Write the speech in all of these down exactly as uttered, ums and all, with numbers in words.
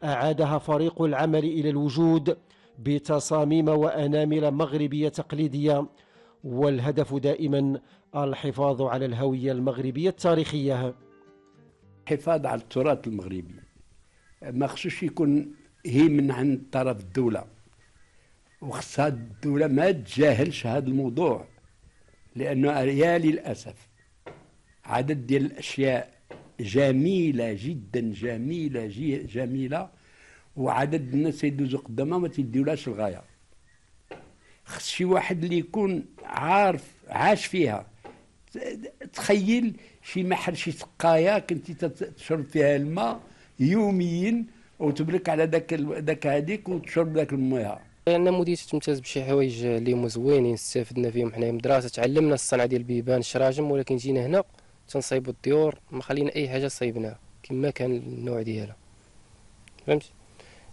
أعادها فريق العمل إلى الوجود بتصاميم وأنامل مغربية تقليدية، والهدف دائما الحفاظ على الهوية المغربية التاريخية. الحفاظ على التراث المغربي ما خصوش يكون هي من عند طرف الدولة، وخصها الدولة ما تجاهلش هذا الموضوع، لأنه يا للأسف عدد ديال الأشياء جميلة جدا جميلة جميلة وعدد الناس يدوزوا قدامها ما تيديولاش الغاية. خص شي واحد اللي يكون عارف عاش فيها. تخيل شي محل شي سقاية كنتي تشرب فيها الماء يوميا وتبرك على داك داك هذيك وتشرب داك المياه. انا مدير تمتاز بشي حوايج اللي هما زوينين استفدنا فيهم حنايا من الدراسه، تعلمنا الصنعه ديال البيبان الشراجم، ولكن جينا هنا تنصايبوا الديور ما خلينا اي حاجه صايبناها كما كان النوع ديالها، فهمتي.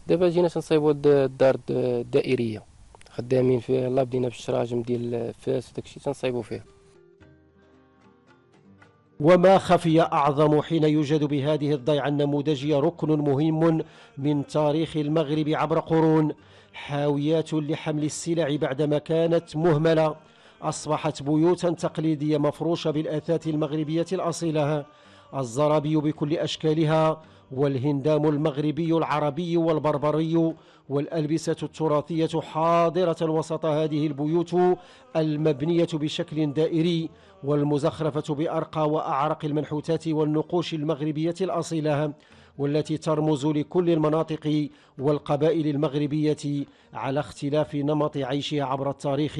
دابا جينا تنصايبوا الدار الدائريه خدامين فيها، يلاه بدينا بالشراجم ديال الفاس وداكشي تنصايبوا فيه. وما خفي أعظم حين يوجد بهذه الضيعة النموذجية ركن مهم من تاريخ المغرب عبر قرون، حاويات لحمل السلع بعدما كانت مهملة، أصبحت بيوتا تقليدية مفروشة بالأثاث المغربية الأصيلة، الزرابي بكل أشكالها، والهندام المغربي العربي والبربري، والألبسة التراثية حاضرة وسط هذه البيوت المبنية بشكل دائري، والمزخرفة بأرقى وأعرق المنحوتات والنقوش المغربية الأصيلة، والتي ترمز لكل المناطق والقبائل المغربية على اختلاف نمط عيشها عبر التاريخ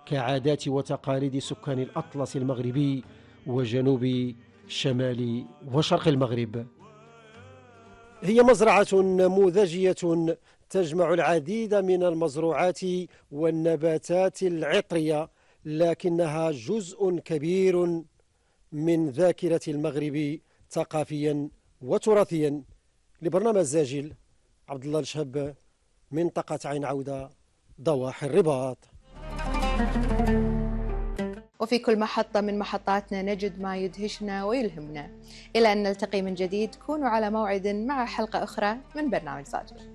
كعادات وتقاليد سكان الأطلس المغربي وجنوب شمال وشرق المغرب. هي مزرعة نموذجية تجمع العديد من المزروعات والنباتات العطرية، لكنها جزء كبير من ذاكرة المغرب ثقافيا وتراثيا. لبرنامج زاجل، عبد الله الشهب، منطقة عين عودة، ضواحي الرباط. وفي كل محطة من محطاتنا نجد ما يدهشنا ويلهمنا. إلى أن نلتقي من جديد، كونوا على موعد مع حلقة أخرى من برنامج زاجل.